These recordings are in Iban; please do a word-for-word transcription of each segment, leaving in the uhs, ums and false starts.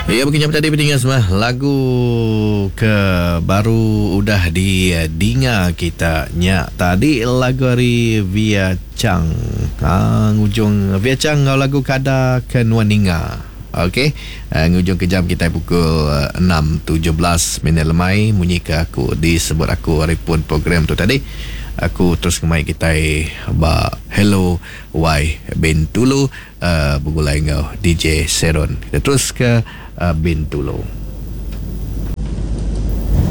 Ya, begini tadi pendengar semua, lagu ke baru udah didinga kita nya tadi lagu ari Via Chang. Ha, ngujung Via Chang ngau lagu Kada ke Nuan Ninga. Okey, uh, ngujung ke jam kita pukul enam tujuh belas minit lemai munyi ke aku disebut aku hari pun program tu tadi. Aku terus ngemai kita ba Hello Y Bintulu uh, begulai ngau D J Seron. Kita terus ke uh, Bintulu.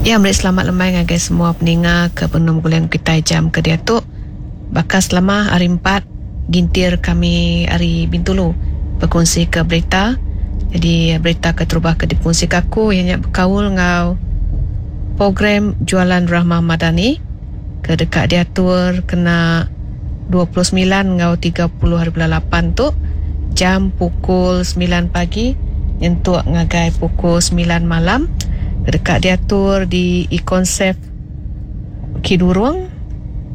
Ya, meri selamat lemai ngagai semua peninga ke penuh gulian kita jam ke diatu. Bakal selama hari empat gintir kami hari Bintulu berkongsi ke berita. Jadi berita ke terubah ke dikongsi ke aku ianya berkaul ngau program jualan Rahmah Madani ke dekat diatur kena dua puluh sembilan ngau tiga puluh hari bulan lapan tu jam pukul sembilan pagi nyentuk ngagai pukul sembilan malam. Dekat diatur di Econsave Kidurung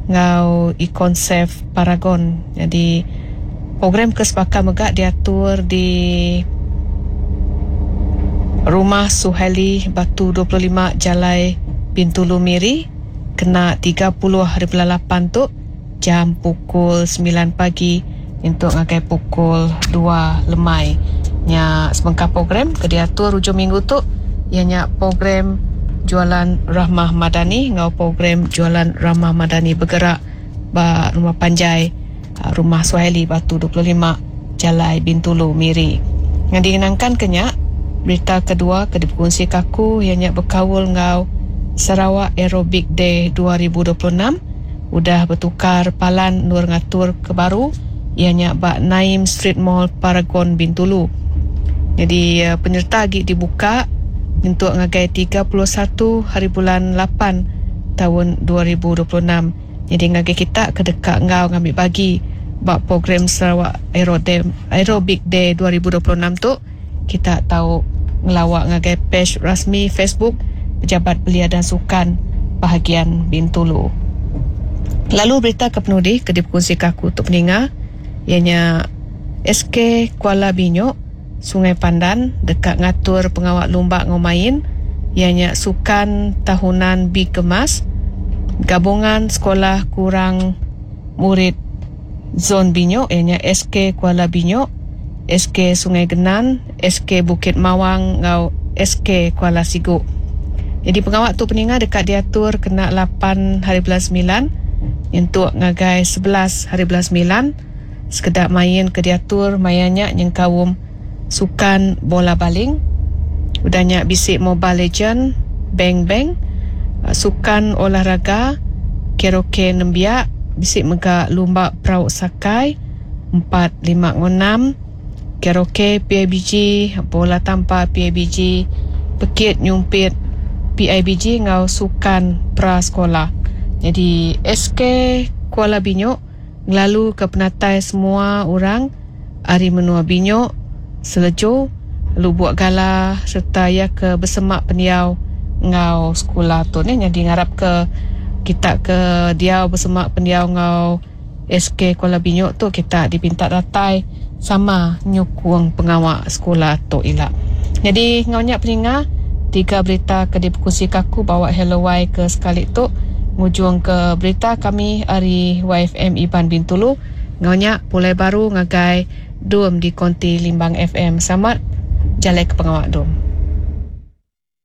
ngau Econsave Paragon. Jadi program kesepakatan megak diatur di Rumah Suhaili Batu dua puluh lima Jalai Bintulu Miri kena tiga puluh hari bulan lapan tu jam pukul sembilan pagi untuk ngagai pukul dua lemai. Nya sebengkah program ke diatur hujung minggu tu ianya program jualan Rahmah Madani ngau program jualan Rahmah Madani bergerak ba Rumah Panjai Rumah Suhaili Batu dua puluh lima Jalai Bintulu Miri. Yang dikenangkan kenya berita kedua ke dikongsi kaku ianya berkaul ngau Sarawak Aerobic Day dua ribu dua puluh enam udah bertukar palan nur ngatur ke baru ianya ba Naim Street Mall Paragon Bintulu. Jadi penyerta agi dibuka untuk ngagai tiga puluh satu hari bulan lapan tahun dua ribu dua puluh enam. Jadi ngagai kita ke dekat ngau ngambil bagi ba program Sarawak Aerobic Day dua ribu dua puluh enam tu kita tahu ngelawak ngagai page rasmi Facebook Pejabat Belia dan Sukan Bahagian Bintulu. Lalu berita ke penudi ke dikongsi kaku untuk peninga ianya S K Kuala Binyok Sungai Pandan dekat ngatur pengawak lumba ngomain ianya sukan tahunan B Kemas gabungan sekolah kurang murid zon Binyok ianya S K Kuala Binyok, S K Sungai Genan, S K Bukit Mawang ngau S K Kuala Siguk. Jadi pengawak tu peninga dekat diatur kena lapan hari bulan sembilan untuk ngagai sebelas hari bulan sembilan sekedar main ke diatur mayanya nyengkawum sukan bola baling, udahnya bisik Mobile Legend, Bang Bang, sukan olahraga, karaoke nembiak, bisik mega lumba perahu sakai empat lima enam, karaoke P I B G, bola tampar P I B G, pekit nyumpit P I B G ngau sukan pra sekolah. Jadi S K Kuala Binyok ngelalu ke penatai semua orang ari menua Binyok, Selejo, Lubuk Gala serta ya ke bersemak pendiau ngau sekolah tu ni. Jadi ngarap ke kita ke dia bersemak pendiau ngau S K Kuala Binyok tu kita dipinta datai sama nyukung pengawak sekolah tu ila. Jadi ngau nyak peninga tiga berita ke dikongsi kaku bawa Hello Y ke sekali tu ngujung ke berita kami ari Y F M Iban Bintulu. Ngau nyak pulai baru ngagai Dum di Konti Limbang F M. Selamat jalan ke pengawak Dum.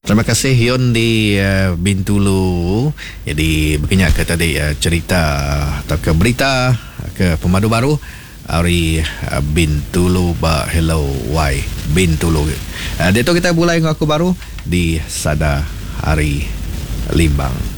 Terima kasih Yun di uh, Bintulu. Jadi begini ke tadi uh, cerita atau ke berita ke pemandu baru hari uh, Bintulu ba Hello Y Bintulu. Uh, dia tu kita mulai dengan aku baru di Sada Hari Limbang.